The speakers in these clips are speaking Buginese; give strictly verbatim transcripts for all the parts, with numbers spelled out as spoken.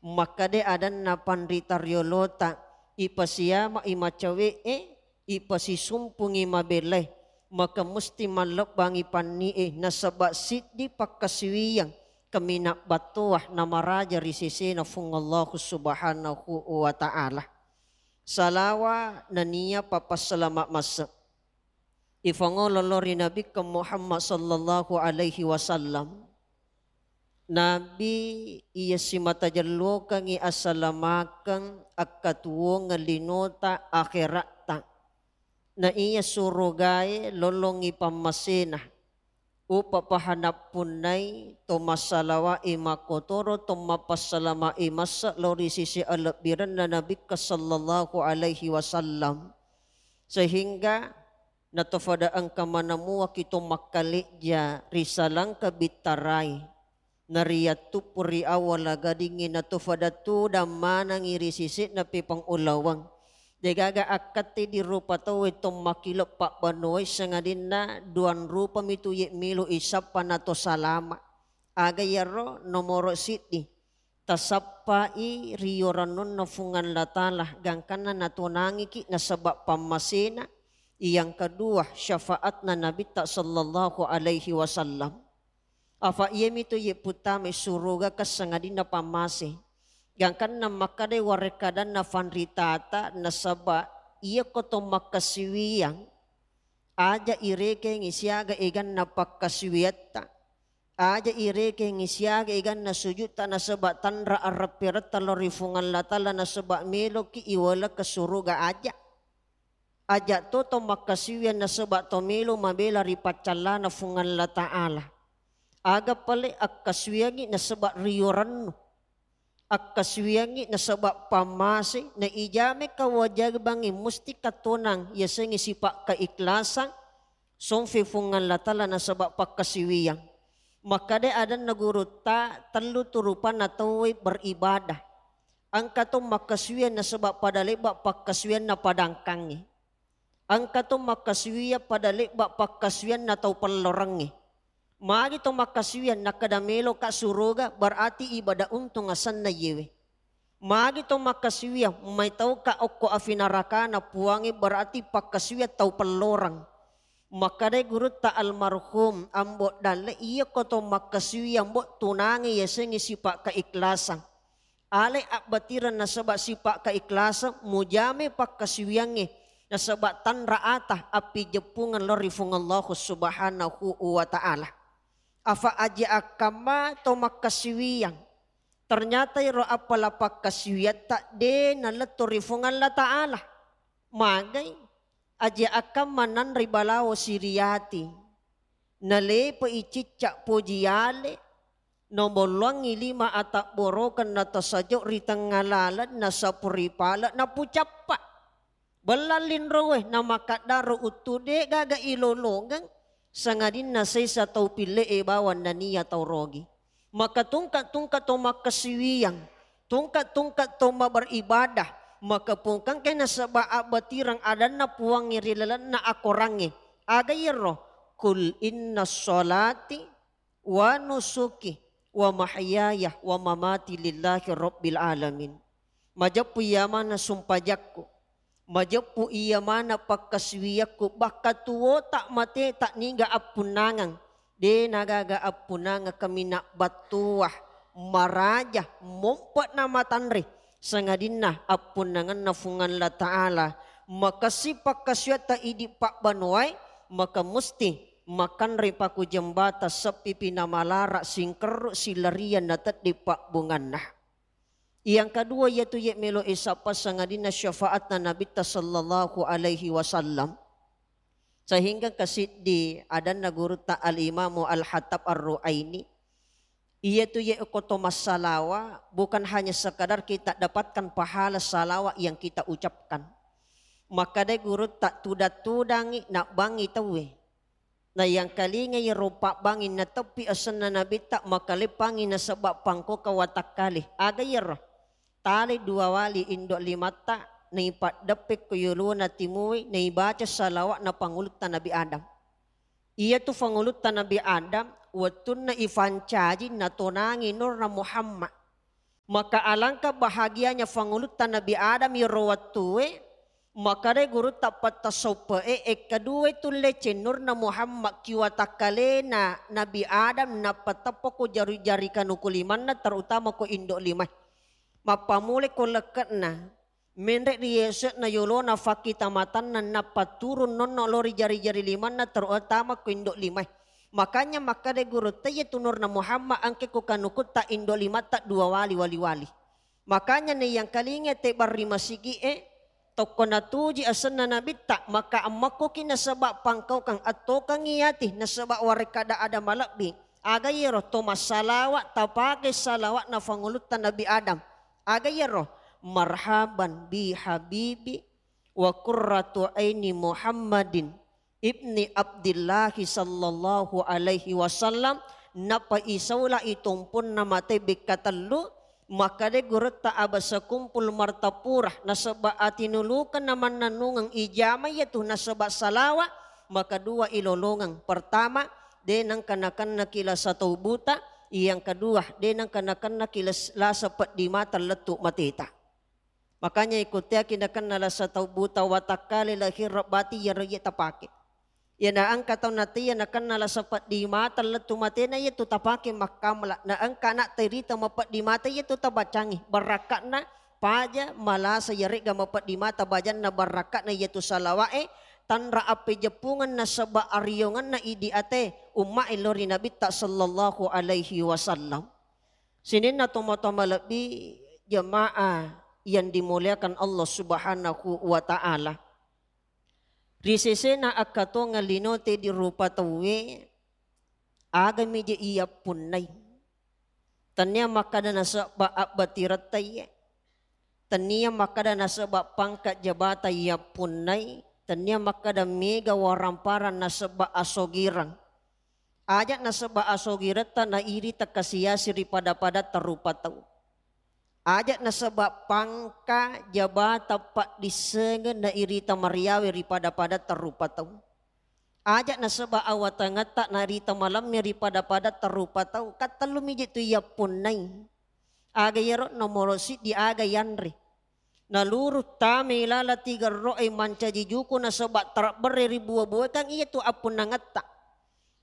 Makkeda adanna panrita riolota, ipasiama'i macawe'e, ipasisumpungi mabelae, maka musti mallebbangi panni'e, nasaba siddi pakkasiwiyang kaminang battoa namaraja ri sesena Fuang Allahu Subhanahu wa Ta'ala. Salawa nennia papassalama masse ifangolo lao ri Nabikka Muhammad sallallahu alaihi wasallam. Nabi iya simata jellokengngi asalamakeng akkatuwongeng linota akheratta. Na iya surugae lolongngi pammasena. Upapahanappunnai to massalawa'i makkotoro to mappassalama'i masse lao ri sisi alebbirenna Nabikka sallallahu alaihi wasallam. Sehingga natofada engka manamuaki to makkalejja ri salangka bittarai. Nariyattuppu ri awwala gadingngi natofada tudang manengngi ri sise'na pepang ulaweng. Degaga akkatti di rupa tauwe to makkile pabbanuwai sangadinna duang rupami tu ye melo isappa nato salama. Aga iyaro nomoro siddi, tasappai riyorannunna Fuang Allah Ta'ala gangkanna natonangiki nasaba pammasena. Yang kedua, syafaatna Nabitta sallallahu alaihi wasallam. Afa iyamitu ye puttamai surogaka sangadinna pammase. Gangkanna makkedai warekkadanna fanritata nasaba iyako to makkasiwiyang aja irekengngi siaga eganna pakkasiwiyatta. Aja irekengngi siaga eganna sujutta nasaba tanra arrapperetta lao ri Fuang Allah Ta'ala nasaba meloki iwalekka suruga aja. Aja to to makkasiwiyang nasaba to melo mabela ri paccallana Fuang Allah Ta'ala. Aga pale akkasiwiyangngi nasaba riyorannu. Akkasiwiyangngi nasaba pammase, na ijame kawajibangnge musti katonang yasengnge sipa kaikhlasan, somfe Fuang Allah Ta'ala nasaba pakkasiwiyang. Makkeda adanna gurutta, tellu tu rupanna tauwe beribadah. Engka to makkasiwiyang nasaba pada lebba pakkasiwiyanna padangkangnge. Engka to makkasiwiyang pada lebba pakkasiwiyanna tau pellorengnge. Magi to makkasiwiyang nakkeda meloka suruga, berarti ibadah untung asenna iyewe. Magi to makkasiwiyang mai tauka okko afi narakana Puangnge, berarti pakkasiwiyang tau pelloreng. Makkedai gurutta almarhum Ambo Dalle, iyako to makkasiwiyang, Mbo, tunangi yasengnge sipa kaikhlasan. Ale abbatireng nasaba sipa kaikhlasan, mujame pakkasiwiyangnge nasaba tanra ata appijeppungeng lao ri Fuang Allahu Subhanahu wa Ta'ala. Afa aja akkamma to makkasiwiyang, ternyata iro appala pakkasiwiyatta de nalettu ri Fuang Allah Ta'ala. Magai, aja akkamma nanre balawo siriyati, nalepe'i cicca poji ale, nabolloangngi lima atabborokeng natasajo ri tengnga laleng, nasapu ri pale, napucappa. Bellang linroe, namakaddaro uttu de gaga ilolongeng, sangadinna sesa tau pille'e bawang nania tau rogi. Maka tungka-tungka to makkasiwiyang, tungka-tungka to maberibadah, maka pungkangke nasaba abbatireng adanna Puangnge ri lalenna akorangnge. Aga iyaro? Qul inna sholati wa nusuki wa mahyaya wa mamati lillahi rabbil alamin. Majeppu iya maneng sumpajakku, majeppu iya maneng pakkasiwiyakku, bakka tuwota mateta niga appunnangeng, de nagaga appunnangeng kaminang battoa, maraja, mompe'na matanre, sangadinna appunnangenna Fuang Allah Ta'ala. Makessing pakkasiwiyatta idi pabbanuwae, maka musti makanre paku jembata seppipi namalara singkerru silarian nateddi pabbunganna. Yang kedua, iyatu ye melo isappa sangadinna syafaatna Nabitta sallallahu alaihi wasallam. Sehingga kasiddi adanna gurutta Al-Imamu Al-Hattab Ar-Ruaini, iyatu ye ko to massalawa, bukan hanya sekadar kita dapatkan pahala salawat yang kita ucapkan. Makkedai gurutta, tudang-tudangi nabbangi tauwe. Nayangkalingai ro pabbangi nateppi asenna Nabitta, makaleppangi nasaba pangkoka watakkale. Aga iyaro? Talai dua wali indo limatta, naipaddeppe ko yolona timui, naibaca salawat na pangulutta Nabi Adam. Iyatu pangulutta Nabi Adam, wettunna ifancaji natonangi nurna Muhammad. Maka alangkah bahagianya fangulutta Nabi Adam iyaro wettue, makkedai gurutta pattassauppe e, ekkaduai tulle cennurna Muhammad ki watakkalena Nabi Adam nappa teppa ko jari-jari kanuku limanna, terutama ko indo limae. Mappamulai ko lekke'na, menre ri yase'na yolona fakkitamatanna nappa turun nonno lao ri jari-jari limanna, terutama ko indo limae. Makanya makkeda gurutta, iya tu nurna Muhammad engka ko kanukutta indo limatta dua wali wali-wali. Makanya naiyangkalinga tebang ri masigi'e, tokko natuji asenna Nabitta, maka ammakkoki nasaba pangkaukang, attokangi ati nasaba warekkada ada malebbi. Aga iyaro? To massalawa, tapake salawa'na fangulutta Nabi Adam. Aga iyaro? Marhaban bi habibi wa qurratu aini Muhammadin ibni Abdillahi sallallahu alaihi wasallam. Nappa isaulai tompunna mate bekka tellu, makkeda gurutta abasa kumpul martapura nasaba atinulukenna mannennungeng ijama iyatu nasaba salawa, maka dua ilolongeng. Pertama, de nengka nakennaki lasa tau buta, yang kedua, de nengka nakennaki las-, lasa peddi mata lettu mateta. Makanya ikuttiaki nakenna lasa tau buta watakkale lahir bati iyaro iya tapake. Iya na engka tau nataiya nakenna lasa peddi mata lettu matena iyatu tapake makkamala. Na engka ana tairita mapeddi mata iyatu tabacangi. Barakatna paja malasa iyaregga mapeddi mata bajanna barakatna iyatu salawa'e, tanra appejeppungeng nasaba ariongenna idi ate umma'e lao ri Nabitta sallallahu alaihi wasallam. Sininna tomatoa malebbi, jamaah yang dimuliakan Allah Subhanahu wa Ta'ala. Ri sesena akkatongeng linote di rupa tauwe, agami je iyappunnai. Tennia makkada nasaba abbatiratta iye. Tennia makkada nasaba pangkat jabatan iyappunnai. Tennia makkada mega waramparang nasaba asogirang. Aja nasaba asogiretta nairita kasiasi ri pada-padatta rupa tau. Aja nasaba pangka jabata paddissengeng nairita mariawe ri pada-padatta rupa tau. Aja nasaba awatangetta nairita malamme ri pada-padatta rupa tau. Kattellu miji tu iyappunnai. Aga iyaro? Nomoro siddi, aga yanre. Naluru tame ilala tigerro'e mancaji juku nasaba tarabberre ri bua-buakang iyatu appunnangetta.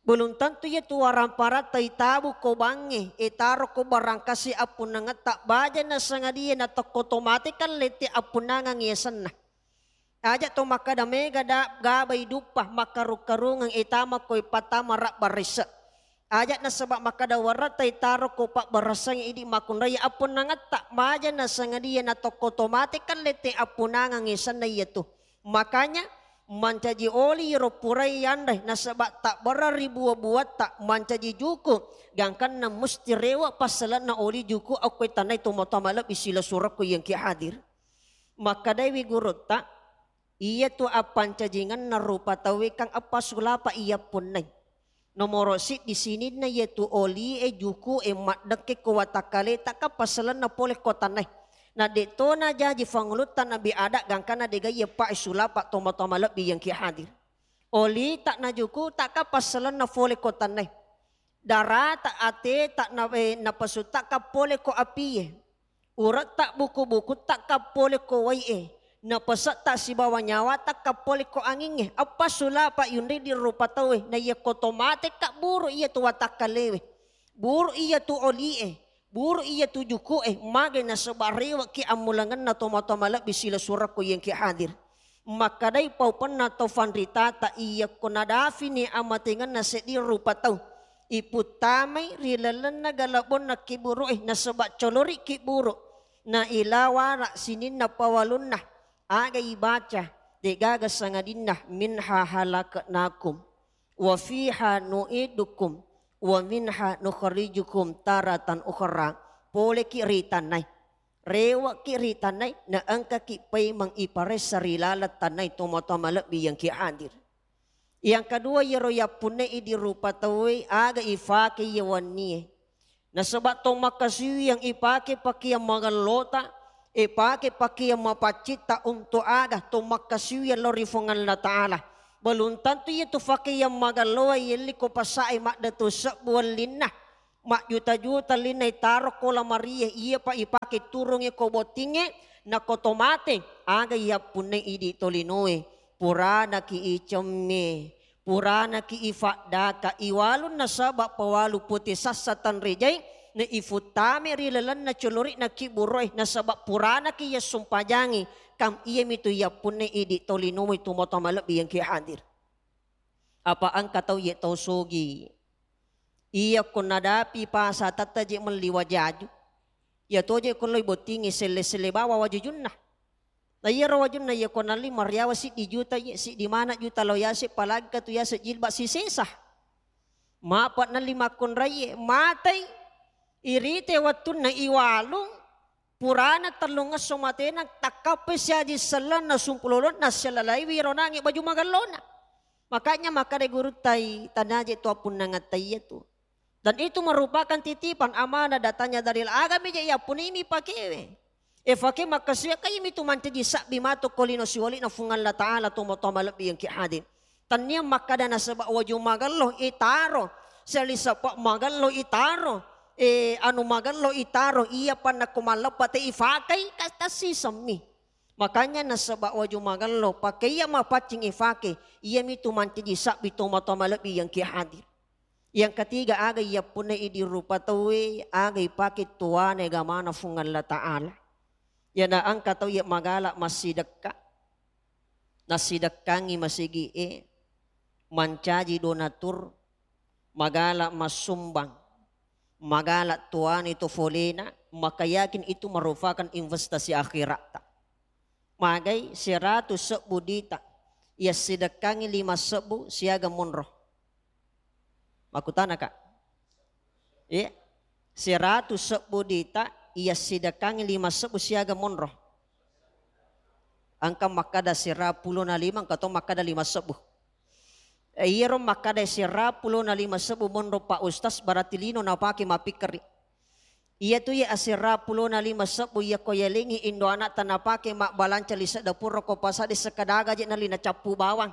Belum tentu iyatu waramparatta itabu ko bangnge, itaro ko barangkasi appunnangetta, baja nasangadie natokko to mate kan lette appunnangang yasenna. Aja to makkada mega da-, gabai duppa makkarung-karungeng itama ko ipattama rabba resse. Aja nasaba makkada warata itaro ko pabbarasang idi makkunrai appunnangetta, maja nasangadia natokko to mate kan lette appunnangang yasenna iyatu. Makanya mancaji oli ro purai yanre nasaba tabbarang ri bua-buatta mancaji juku, gangkanna musti rewa passalenna oli juku okko tannai tomatoa malebbi silessurekku yang ki hadir. Makkadaiwi gurutta, iyatu appancajingenna rupa tauwe kan eppa sulapa iyappunnai. Nomoro siddi sininna iyatu olie, juku'e maddekke ko watakkaleta kan passalenna pole ko tannai. Na de tona jaji fangulutta Nabi Adam gangkana degaie pae sulapa tomatoa malebbi yang ki hadir. Olita na jukuta kan passalenna pole ko tannai. Darata, ateta na, eh, napasutta kan pole ko apie. Uretta, buku-bukutta kan pole ko wai'e, napasetta sibawa nyawata kan pole ko angingnge. Eppa sulapa yunridi rupa tauwe, na iyakko to mate kan buru iyatu watakkalewe, buru iyatu olie, buru iyatu juku'e, mage nasaba rewekki ammulangenna tomatoa malebbi silessurekku yang ki hadir. Makkadai paupenna tau fanritata, iyakko nadafini amatengenna seddi rupa tau, iputtamai ri lalenna galabbonna kiburu'e nasaba colorikki buru, na ilawara sininna pawalunna, aga ibaca, degaga sangadinna, minha halaknakum wa fiha nu'idukum wa minha nukhrijukum taratan ukhra. Poleki ri tannai. Rewekki ri tannai, na engkaki paimeng iparessa ri laleng tannai tomatoa malebbi yang ki hadir. Yang kedua, iyaro yappunnai idi rupa tauwe, aga ifake iya wennie. Nasaba to makkasiwiyang ipake pakeang magellota, ipake pakeang mapaccitta, untuk aga to makkasiwiyang lao ri Fuang Allah Ta'ala. Belum tentu iyatu pakeang magelloa yelli ko passae maddatu sebbu wellinna. majjuta-juta linna itaro ko lamarie, iyapa ipake turungnge ko bottingnge, nako to mate, aga iyappunnai idi tolinoe, puranaki icemme, puranaki ifaddaka, iwalung nasaba pawalu pute sassa tanrejai, na ifuttame ri lalenna colori'na kibburoe, nasaba puranaki iyassumpajangi, kam iyamitu iyappunnai idi tolinoe tu matoa malebbi yang ki hadir. Apa engka tau ye tau sogi. Iya ko nadapi pasa tatta je melli wajaju. Iya toje ko loi bottingi selle-selle bawa wajujunna. Na iyaro wajunna iya ko nalli mariawa siddi juta ye, siddi mana juta lao yase, palagi katu yase jilbab sisesa. Mapa nalli makkonrai ye, matai. Irite wettunna iwalung, purana tellungesso matena, takkappai siaji sellenna sumpulolonna sialalaiwi ronangi baju magallona. Makanya makkada guruttai, tanaje tu appunnangatta iyatu. Dan itu merupakan titipan amanah datanya dari agami je yappunimi pakewe. E fake makkasiwe kaimi tu mancaji sabbi matu ko lino siwali'na Fuang Allah Ta'ala, tomatoa malebbi yang ki hadir. Tannia makkada nasaba waju magello itaro, seli sapa magello itaro, e, anu magello itaro, iya panna ko malleppa te ifakai, ka-, tassisemmi. Makanya nasaba waju magello, pakai iya mapaccing ifake, iyamitu mancaji sabbi tomatoa malebbi yang ki hadir. Yang ketiga, aga iya punna idi rupa tauwe, aga ipake tuane gamana Fuang Allah Ta'ala. Yana engka tau iya magala massidekka, nassidekkangi masigi'e, mancaji donatur, magala massumbang, magala tuani to folena, maka yakin itu merupakan investasi akhiratta. Magai seratus sebbu dita, iya sidekkangi lima sebbu siaga monro. Makkutana, Kak? Iya. Seratus sebbu dita, iya sidekkangi lima sebbu siaga monro. Engka makkada sera pulona lima, engka to makkada lima sebbu. E, iyaro makkada sera pulona lima sebbu monro Pak Ustaz, berarti lino napake mappikkeri. Iya tu iya asera pulona lima sebbu iya ko yalengi indo anakta napake mabbalanca lise'da pura ko pasade sekadaga je nalli nacappu bawang.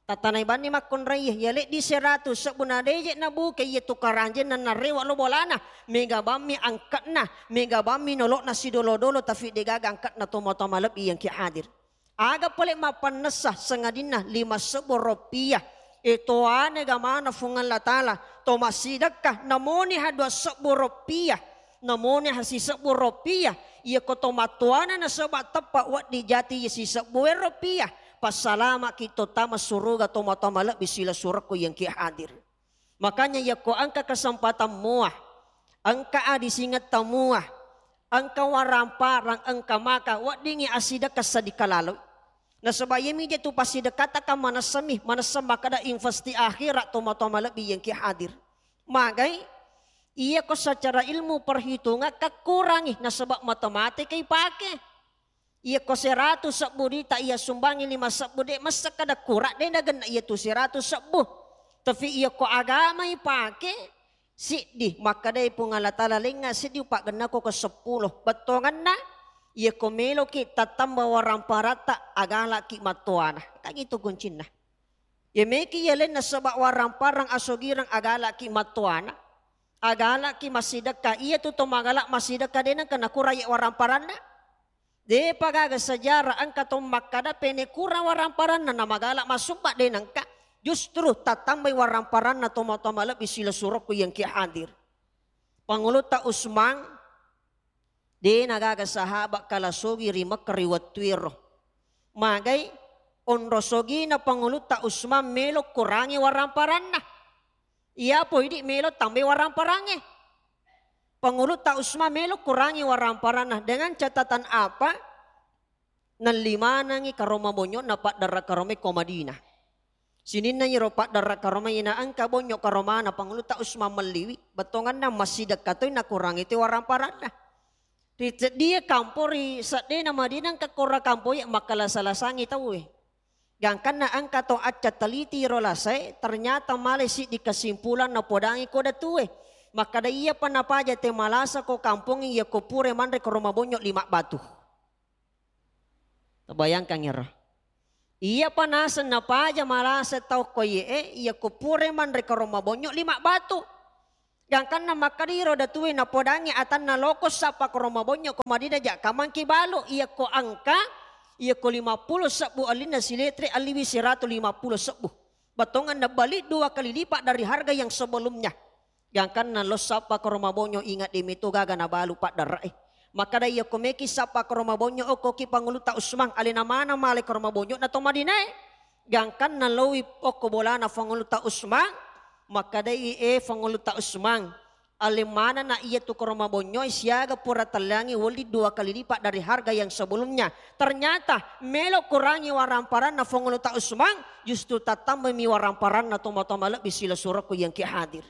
Tatanai banni makkonraiye, iya leddi seratu sebbu na deje nabuke iya tu karanjenna narewa lo bolana, mega bammi angkatna, mega bammi nolokna sidolo-dolo, tapi degaga angkatna tomatoa malebbi yang ki hadir. Aga pole mappannessa sangadinna lima sebbu roppiah. E toane gamana Fuang Allah Ta'ala, to massidekka namoni ha dua sebbu roppiah. Namoni ha sisebbu roppiah, iya ko to mattuana nasaba teppa wedding jati iya sisebbu e roppiah, passalamaki to tama suruga tomatoa malebbi sila surekku yang ki hadir. Makanya iya ko engka kesempatan mua, engka adisingetta mua, engka waramparang, engka maka, weddingi asidekka sadikalaloi. Nasaba iyami je tu pasidekkata ka manessami, manessa makkada investi akhirat tomatoa malebbi yang ki hadir. Magai, iya ko secara ilmu perhitungan kakkurangi nasaba mate-mate kai pake. Iya ko seratu sebbu dita iya sumbangi lima sebbu de massa kada kura de nagenna iya tu seratu sebbu. Tapi iya ko agama ipake siddi makkadai Puang Allah Ta'ala lengnga siddi upaggenna ko ke seppulo. Bettonganna iya ko meloki tattamba waramparatta agalaki mattoana. Kan itu kuncinna. Iya meki iya lenna sebab waramparang asogirang agalaki mattoana. Agalaki massidekka, iya tu to magala massidekka de nengka nakurang iya waramparanna. Depa gaga sejarah engka to makkada pene kurang waramparanna na magala masubba de nengka. Justru tatambai waramparanna tomatoa malebbi sila surekku yang ki hadir. Pangulutta Usman, de nagaga sahabat kala sogi ri Mekkah ri wettuero. Magai onro sogina Pangulutta Usman melo kurangi waramparanna. Iya po idi melo tambai waramparangnge. Pangulutta Usman melo kurangi waramparanna dengan catatan apa? Nelli manengi karoma bonnyona paddarra karomai ko Madinah. Sininna iro paddarra karomai na engka bonnyo karomana Pangulutta Usman melliwi, bettonganna massidekka toi nakurangi toi waramparanna. Ri seddie kampo ri seddena Madinah engka kora kampo iya makkalasa-lasangi tauwe. Gangkanna engka to acca teliti ro lasae, ternyata male siddi kesimpulan napodangi ko datue. Makkada iyapa napaja te malasa ko kampongnge iya ko pura manre ko roma bonyo lima batu. Tabayangkan ero. Iyapa naseng napaja malasa tau ko iye, iya ko pura manre ko roma bonyo lima batu. Gangkanna makkeda iro datue napodangngi atanna loko sappa koro mabonyo ko Madinah ja kamangki balu, iyakko angka, iyakko lima pulo sebbu allinna siletre alliwi seratus lima pulo sebbu. Bettuanna balik dua kali lipat dari harga yang sebelumnya. Gangkanna lo sappa koro mabonyo ingat de meto gaga nabalu paddara'e. Makkeda iyakko meki sappa koro mabonyo okkoki Pangulutta Usmang, alena mana male koro mabonyo na to Madinae. Gangkanna lowi okko bolana Pangulutta Usmang, makkedai, "Eh, Pangulutta Usmang, ale manana iya tu koro mabonnyoi siaga pura telliangi woli dua kali lipat dari harga yang sebelumnya." Ternyata melo kurangi waramparanna Pangulutta Usmang, justru tattambami waramparanna tomatoa malebbi sila surakku yang ki hadir.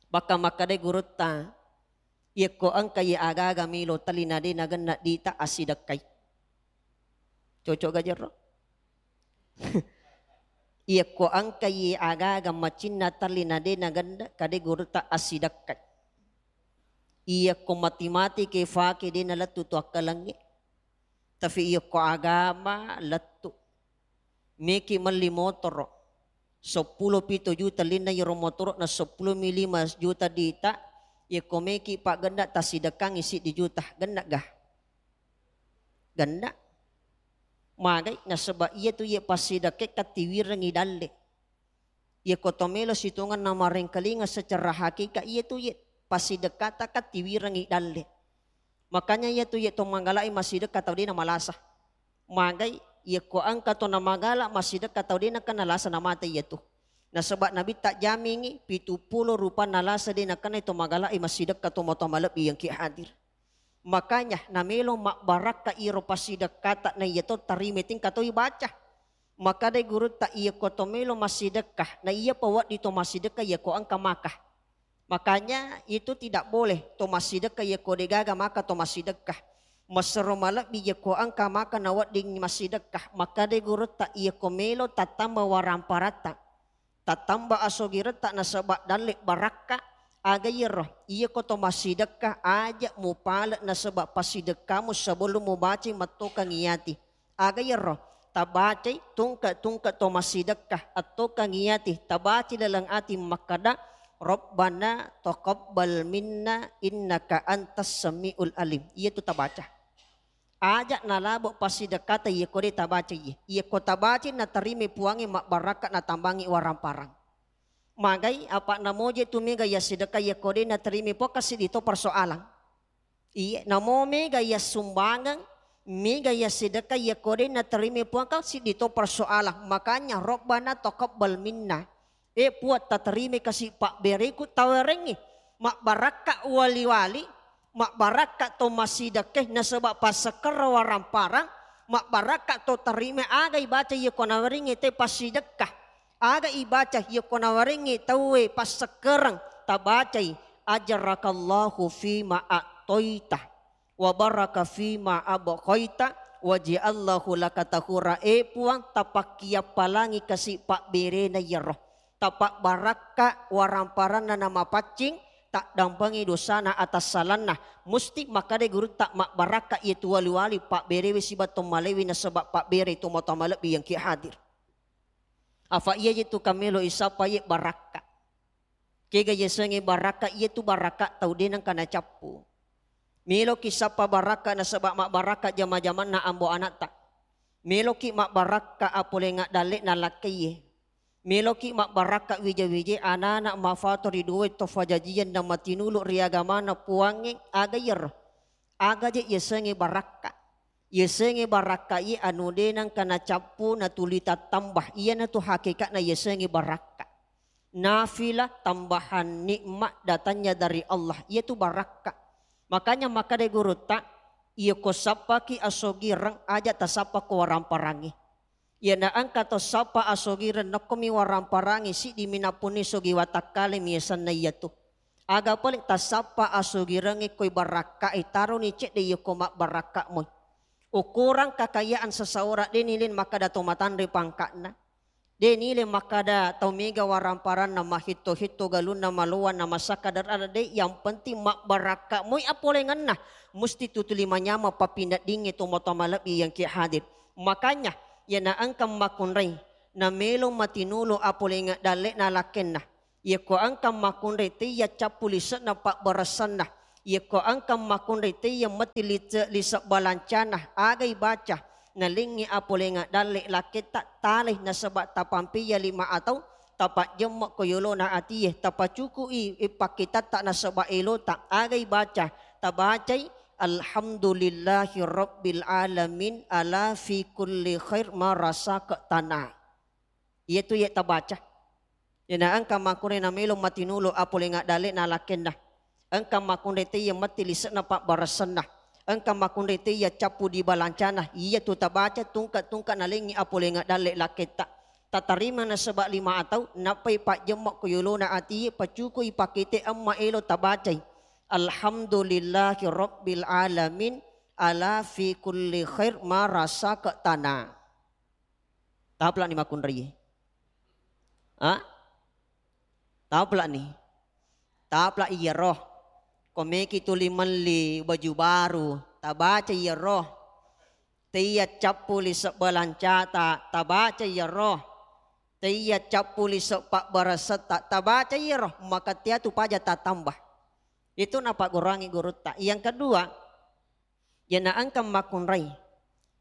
Bakka makkedai gurutta, iyakko engka iye aga-aga melo tellina de nagenna dita assidekkai. Cocok ga jerro? Iyakko engka iye aga-aga macinna tellina de nagenna kade gurutta assidekkai. Iyakko mati-mati ke fake de nalettu tu akkalengnge. Tapi iyakko agama lettu. Meki melli motoro. Seppulo pitu juta linna iyaro motoro na seppulo mi lima juta dita. Iyakko meki paggenna tassidekkangi siddi juta. Genna ga? Genna. Magai nasaba iya tu iye passidekke kattiwirengi dalle. Iyako to melo sitongenna marengkalinga secara hakikat, iya tu iye passidekkata kattiwirengi dalle. Makanya iya tu iye to magala'i massidekka tau dena malasa. Magai iyako engka to namagala massidekka tau dena kan nalasa namate iya tu. Nasaba Nabitta jamingi pitu pulo rupanna lasa dena kenna to magala'i massidekka to matoa malebbi yang ki hadir. Makanya namelo mabbarakka iro passidekkata na iya to tarime tingka toi baca. Makkedai gurutta, "Iyako to melo massidekka, na iyapa wedding to massidekka iyako engka maka." Makanya itu tidak boleh to massidekka iyako degaga maka to massidekka. Massero malebbi iyako engka maka na wedding massidekka. Makkedai gurutta, "Iyako melo tattamba waramparatta, tattamba asogiretta nasaba dalle barakka." Aga iyaro, iyako to massidekka aja mupale nasaba passidekkamu sebelum mubacai mattokangi ati. Aga iyaro? Tabacai tungke-tungke to massidekka, attokangi ati, tabacai laleng ati makkada, "Rabbana taqabbal minna innaka antas samiul alim." Iya tu tabaca. Aja nalabo passidekkata iyako de tabacai iye. Iyako tabacai natarime puangnge mabbarakka natambangi waramparang. Magai apa namoje tu mega iya sidekka iyako de natarime puang ka siddi to persoalan. Iye, namo mega iya sumbangeng, mega iya sidekka iyako de natarime puang ka siddi to persoalan. Makanya Rabbana taqabbal minna. Eh, Puang, tatarime kasi pabbereku tawerengngi. Mabbarakka wali-wali, mabbarakka to masidekke nasaba passekkerra waramparang, mabbarakka to tarime aga ibaca iyako nawerengngi te passidekka. Aga ibaca iyako nawerengngi tauwe passekkereng, tabacai, "Ajrakallahu fima a'toita, wa baraka fima abqaita, wa ja'allahu laka tahura." Eh Puang, tapakkiappalangi kasi pabberena iyaro. Tapabbarakka waramparanna namapaccing, taddampengi dosana atassalanna. Musti makkeda gurutta mabbarakka iyatu wali-wali pabberewe siba to malewe nasaba pabbere to matoa malebbi yang ki hadir. Afa iya je tu kamelo isappa ye barakka. Kega yasengnge barakka, iyatu barakka tau de nengka nacappu. Meloki sappa barakka nasaba mabbarakka jama-jamanna ambo anatta. Meloki mabbarakka apolenga dalle'na lakkaiye. Meloki mabbarakka wija-wije anana mafato ri duwe to fajajian na matinulu ri agamana Puangnge, aga iyaro? Aga je yasengnge barakka? Yasengnge barakka iye anu de nengka nacappu natuli tattamba. Iyanatu hakikatna yasengnge barakka. Nafilah tambahan nikmat datangnya dari Allah. Iyatu barakka. Makanya makkeda gurutta, iyako sappaki asogireng aja tasappa ko waramparangnge. Iyana engka to sappa asogireng nokkomi waramparangnge siddimi nappunni sogi watakkalemi yasenna iyatu. Aga pole tasappa asogirengnge koi barakkae, taroni cedde iyako mabbarakka moi. Ukuran kakayaan seseorang de nilai makkeda to matanre pangkatna. De nilai makkeda tau mega waramparanna, mahitto-hitto galunna, maloanna, masakkadar ada de, yang penting mabbarakka moi apolengenna, musti tutuli manyameng pappineddingnge to matoa malebbi yang ki hadir. Makanya, iyana engka makkunrai, namelo matinulu apolenga dalle'na lakkenna. Iyako engka makkunrai teiya cappu lise'na pabbaressanna. Iyako engka makkunrai teiya metti lise-, lise balancana, agai baca, nalengngi apolengnga dalle lakketta, talai nasaba tapampeiya lima atau, tapajjemme ko yolona atie, tapacuku'i pakkitatta nasaba elota, agai baca, tabacai, "Alhamdulillahi rabbil alamin ala fi kulli khair marasaka tana." Iyatu iye tabaca. Iyana engka makkunrai namelo matinulu apolengnga dalle na lakkenna. Engka makkunrai teiya metti lise'na pabbaressanna. Engka makkunrai teiya cappu di balancana. Iyatu tabaca tungka-tungka nalengngi apolengnga dalle lakketta. Tatarima nasaba lima atau, nappai pajjemme ko yolona atie, pacukui pakkite emma elo tabacai. Alhamdulillahi rabbil alamin ala fi kulli khair marasaka tana. Taplani makkunrai. Ha? Taplani. Tapla iyaro. Ko meki tuli melli baju baru, tabaca iyaro. Teiya cappu lise balancata, tabaca iyaro. Teiya cappu lise pabbarasetta, tabaca iyaro. Maka teatu paja tatamba. Itu napagguruangi gurutta. Yang kedua, iyana engka makkunrai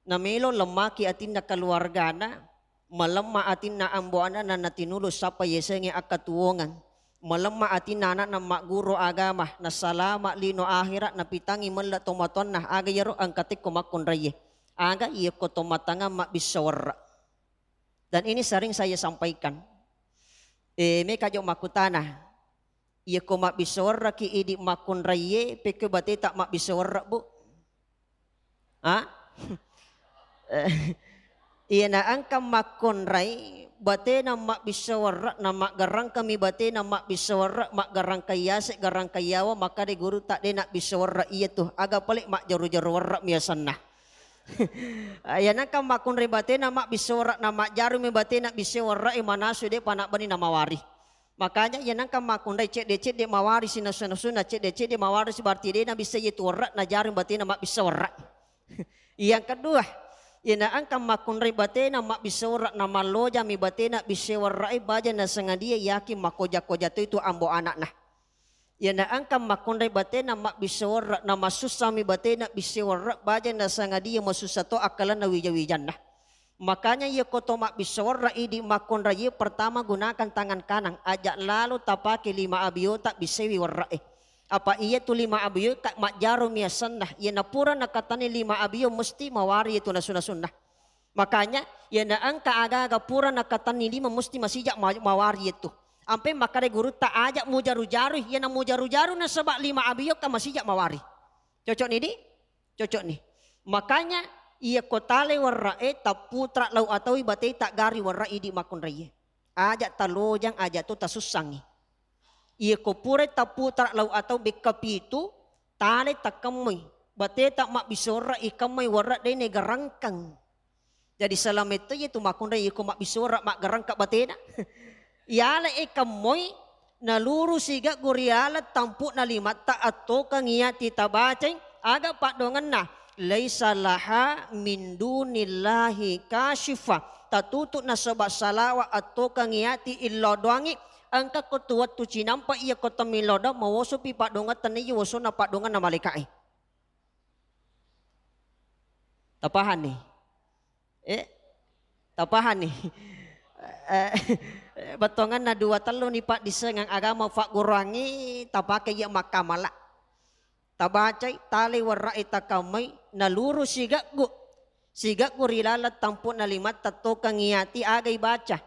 namelo lemmaki atinna keluargana, malemma atinna ambo ana'na natinulu sappa yasengnge akkatuwongeng, malemma atinna ana'na magguru agama, nasalama lino akhirat, napitangngi melle tomatoanna, aga iyaro engka tekko makkunraiye. Aga iyakko tomatangang mabbissa werre. Dan ini sering saya sampaikan. Eh, meka jo makkutana, iyako mabbissa werraki idi makkunraiye, pekko bateta mabbissa werre, Bu? Ha? Eh, iyana engka makkunrai, batena mabbissa werre, na maggarangkami batena mabbissa werre, maggarangka yase, garangka yawa, makkada gurutta de nabbissa werre iyatu, aga pale majjaru-jaru werre miasanna. Iyana engka makkunrai batena mabbissa werre, na majjarumi batena bissa werre, manasu depa nabbani namawari. Makanya iyana engka makkunrai cedde-cedde mawarisi nasu-nasuna, cedde-cedde mawarisi, berarti de nabissai yetu werre, najarung batena mabbissa werre. Yang kedua, iyana engka makkunrai batena mabbissa werre, na mallojami batena bissa werre, baja nasengadia yakin makkoja-koja to itu ambo ana'na. Iyana engka makkunrai batena mabbissa werre, na masussami batena bissa werre, baja nasengadia masussa to akkalenna wija-wijanna. Makanya iyako to mabbissa werre idi makkunraiye, pertama gunakan tangan kanan, aja lalo tapake lima abiota bissaiwi werre'e. Apa iyatu lima abioe ka majjarumi asenna, iyana pura nakatanni lima abio mesti mawari iyatu nasu-nasunna. Makanya iyana engka aga-aga pura nakatanni lima mesti masija ma-, mawari iyatu. Ampe makkada gurutta aja mujaru-jarui, iyana mujaru-jaru nasaba lima abio ka masija mawari. Cocok ni di? Cocok ni. Makanya iyako tale werre'e tapputra lau ataui batei taggari werre idi makkunraiye. Aja talojang, aja to tasussangi. Iyako purai tapputra lau atau bekka pitu, tale takkemmoi. Bateta mabbissa werre ikemmoi werre de negarangkang. Jadi selama itu iyatu makkunrai iyako mabbissa werre maggarangka batena. Iyale e kemmoi, naluru sigaggu ri laleng tampu'na limatta attokengngi ati tabacai, aga paddongenna, "Laisa laha min dunillahi kasyifa." Tatutu nasaba salawa attokengngi ati illau doangngi, engka ko tu wettu cinampa iyako temmillau doang, mawosopi paddongeng tenniya wosonna paddongenna malaika'e. Tapahanni? Eh, tapahanni? Eh, bettuangenna dua tellu ni paddissengeng agama fagguruangngi tapake iya makkamala. Tabacai, tale werre'e takammai, naluru sigaggu. Sigaggu ri laleng tampu'na limatta tokengngi ati agai baca.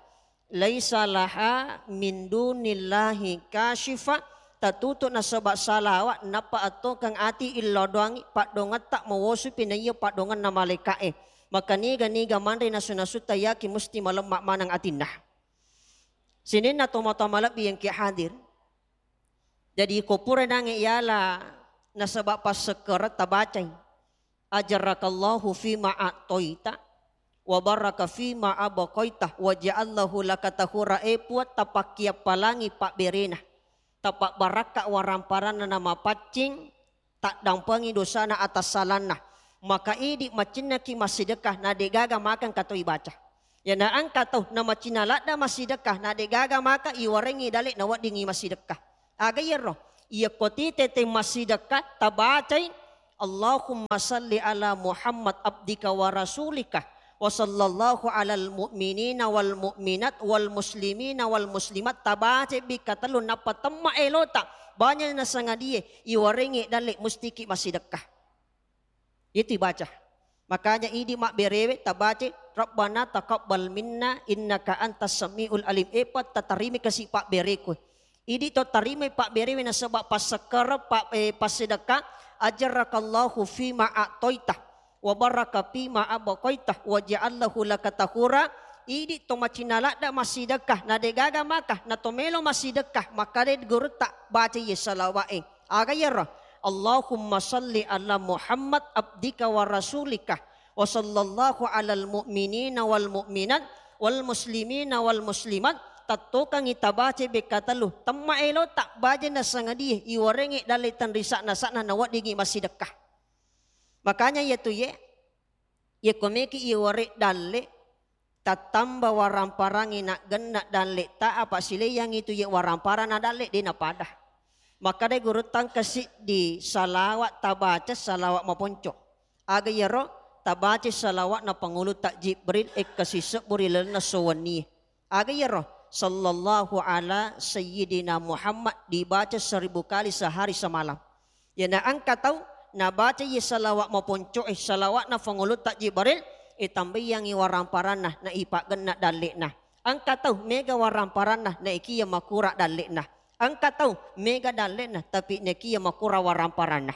"Laisa laha min dunillahi kasyifa." Tatutu nasaba salawa nappa attokeng ati illau doangngi paddongetta mawosupi naiya paddongenna malaika'e. Maka niga-niga manre nasu-nasutta yaki musti malemma maneng atinna. Sininna tomatoa malebbi yang ki hadir. Jadi ko pura nange yala nasaba passekkereng tabacai. "Ajarakallahu fima a'toita, wa baraka fima abqaita, wa ja'allahu laka tahura." E Puang, tapakkiappalangi pabberena, tapabbarakka waramparanna, namapaccing taddampengi dosana atassalanna. Maka idi macinnaki massidekka, na degaga makengka toi baca. Iyana engka tau namacina ladda massidekka, na degaga maka iwarengngi dalle naweddingngi massidekka. Aga iyaro? Iyako tite te massidekka tabacai, "Allahumma salli ala Muhammad abdika wa rasulika, wa sallallahu alal mu'minina wal mu'minat wal muslimina wal muslimat," tabacai bikka tellu, nappa temma elota, banya nasangadie iwarengngi dalle mustiki massidekka. Itu ibaca. Makanya idi mabberewe tabaca, "Rabbana taqabbal minna innaka antas samiul alim." Epa tatarimi kasi pabbereku. Idi to tarimi pabberewe nasaba passekkere pa, eh, passedekka, "Ajrakallahu fima a'toita wa baraka fima abqaita wa ja'allahu laka tahura." Idi to macina ladda massidekka, na degaga maka na to melo massidekka, makkade gurutta baca ye salawa'e. Aga iyaro? "Allahumma salli ala Muhammad abdika wa rasulika, wa sallallahu alal mu'minina wal mu'minat, wal muslimina wal muslimat." Tattokangngi tabaca bekka tellu, temma elota baja nasangadie iwarengngi dalle tenrisa nasa'na naweddingngi massidekka. Makanya iyatu ye, yekko meki iware dalle, tattamba waramparangngi naggenna dalle ta, apa sileyangngi tu ye waramparana dalle de napada. Makkadai gurutta engka siddi salawat tabaca, salawat maponco. Aga iyaro? Tabaca salawatna pangulutta Jibril, ekkasi sebbu ri lalenna sowennie. Aga iyaro? "Sallallahu ala sayyidina Muhammad" dibaca seribu kali sehari semalam. Iyana engka tau nabaca ye salawat maponcoe, salawatna pangulutta Jibril, itambaiyangngi waramparanna na ipaggenna dalle'na. Engka tau mega waramparanna na ikiya makura dalle'na. Engka tau mega dalle'na tapi na ikiya makura waramparanna.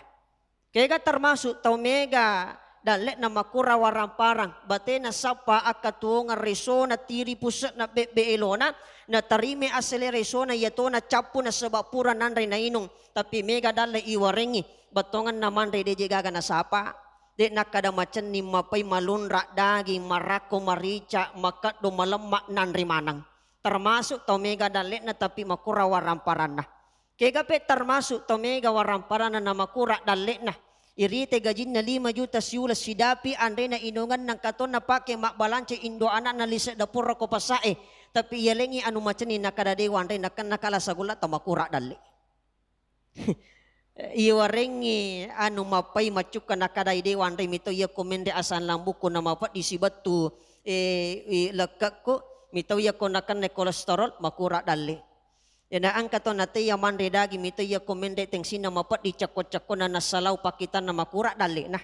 Kega termasuk tau mega dalle'na makura waramparang, batena sappa akkatuwongeng resona, tiri puse'na, bebbe elona, natarime asele resona iyatona cappu nasaba pura nanre nainung, tapi mega dalle iwarengngi, bettongenna manre deje gaga nasapa, de nakkada macenning, mapai, malunra, daging, marakko, marica, makeddo, malemma, nanre maneng. Termasuk tau mega dalle'na tapi makura waramparanna. Kega pe termasuk tau mega waramparanna na makura dalle'na. Irite gajinna lima juta siuleng sidapi anrena inungenna engka to napake mabbalanca indo ana'na lise dapurra ko pasa'e. Tapi iyalengngi anu macenning nakada dewa anre nakenna kala sagulla tau makura dalle. Iwarengngi anu mappai maccukka nakadai dewa anre mito iyako menre asam lambukku na mapeddi sibettu, eh, i, lekkekku, mito iyako nakenna kolesterol makura dalle. Iyana engka to nateya manre daging mito iyako menre tengsinna mapeddi cekko-cekkona nassalau pakkitanna makura dalle'na.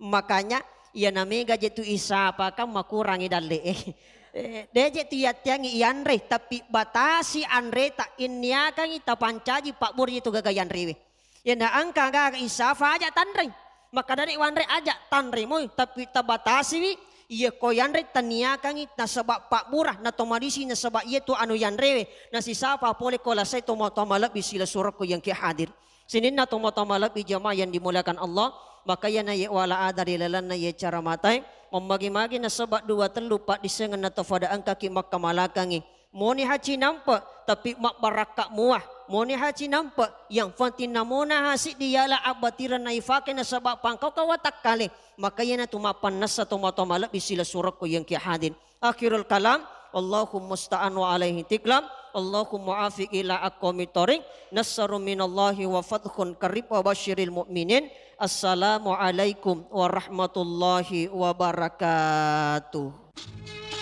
Makanya iyana mega je tu isapa kan makurangi dalle'e. Eh, de je tu yatteangi ianre, tapi batasi anreta, inniakangi tapancaji pabbura je tu gaga yanrewe. Iyana engka gaga isafa aja tanreng. Makkadani wanre aja tanre moi, tapi tabatasiwi, iya ko yanre taniakangi nasaba pabbura na to madisi nasaba iya tu anu yanrewe, nasisafa pole ko lasai to matoa malebbi silessureng ko yang ki hadir. Sininna to matoa malebbi jamaah yang dimuliakan Allah, maka iyana ye wala ada ri lalenna ye cara matai, mammagi-magi nasaba dua tellu paddisengenna to fada engkaki makkamalakangi. Moni haci nampe, tapi mabbarakka mua. Moni haci nampe, yang penting namona hasiddi yala abbatireng naifake nasaba pangkauka watakkale. Maka iyanatu mappannessa tomatoa malebbi silessurekku yang ki hadir. Akhirul kalam, Allahumma musta'an wa alaihi tiklam. Allahumma afiq ila aqwamit thariq. Nasrun minallahi wa fathun qarib wa basyiril mu'minin. Assalamualaikum warahmatullahi wabarakatuh.